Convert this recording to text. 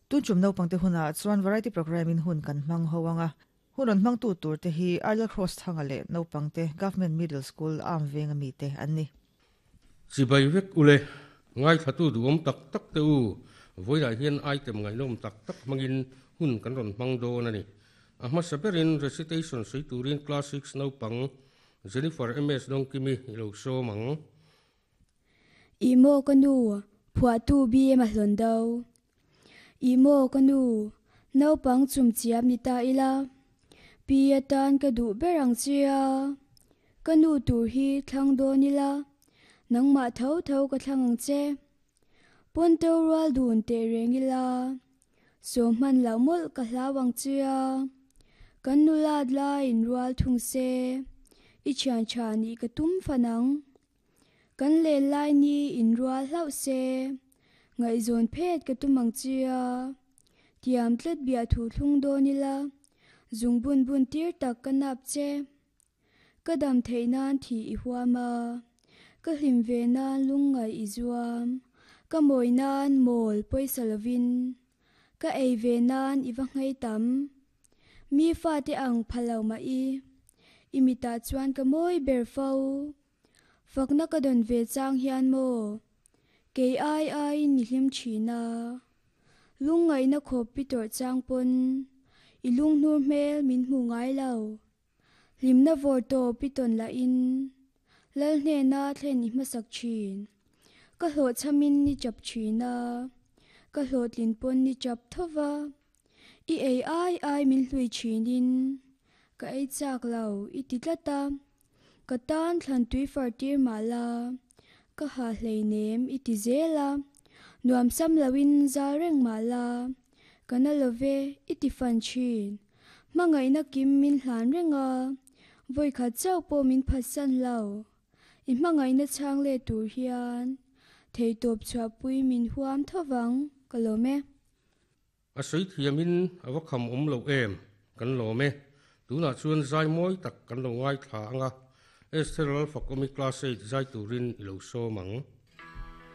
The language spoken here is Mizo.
Tun tum naupangte hunah chuan variety programme in hun kan hmang ho ang a, hun rawn hmangtu turte hi Arlel Cross Thanga leh naupangte Government Middle School Arm venga mite an ni. Chibai vek ule, ngaithlatu duhawm tak tak te u, vawilah hian item ngaihnawm tak tak hmangin hun kan rawn hmang dawn a ni. A hmasa berin recitation sawi turin Class Six naupang Jennifer MS Dawngkimi i lo sawm ang. Ih maw ka nu, phuahtu BM a hlawn do. Ih maw ka nu, naupang chum chiam ni ta ila. Pi atan ka duh ber ang che a. Ka nu tur hi thlang dawn ila, nangmah tho tho ka thlang ang che. Pawnto rual dun teh reng ila, saw hman loh mawlh ka hlau ang che a. Kan nulat laiin rual thung se, i thian tha nih ka tum fan ang. Kan len lai ni in rual hlauh se, ngaihzawn phet ka tum ang chia. Tiam tlat biahthu thlung dawn ila, zung bun bun tir tak ka nap che. Ka dam theih nan thih i huam a, ka hlim ve nan lungngaih i zuam. Ka mawi nan mawl pawisa lovin, ka ei ve nan i va nghei tam. Mi fate ang pha lo mah i, i mitah chuan ka mawi ber fo. Fakna ka dawn ve chang hian maw? Kei ai aiin i hlim thin a. Lungngaihna khawp pi tawrh chang pawn i lunghnur hmel min hmu ngai lo. Hlimna vawr tawp i tawn lahin Lal hnena thlen i hmasak thin. Ka hlawhchhamin i chap thin a, ka hlawhtlin pawn i chap tho va. I ei ai ai min hlui thinin ka ei chak lo i ti tlat a. Ka tan thlan tui far tir mah la, ka ha hleinem i ti zel a, nuam sam loin zal reng mah la, ka na lo ve i ti fan thin. Hmangaihna kim min hlan reng a, vawikhat chauh pawh min phatsan lo. I hmangaihna chhang let tur hian theitawp chhuahpui min huam tho vang, ka lawm e. A sawi thiamin a va kham awm lo em? Kan lawm e. Tunah chuan zai mawi tak kan lo ngaithla ang a, Esther Lalfakawmi class eight zai turin i lo sawm ang.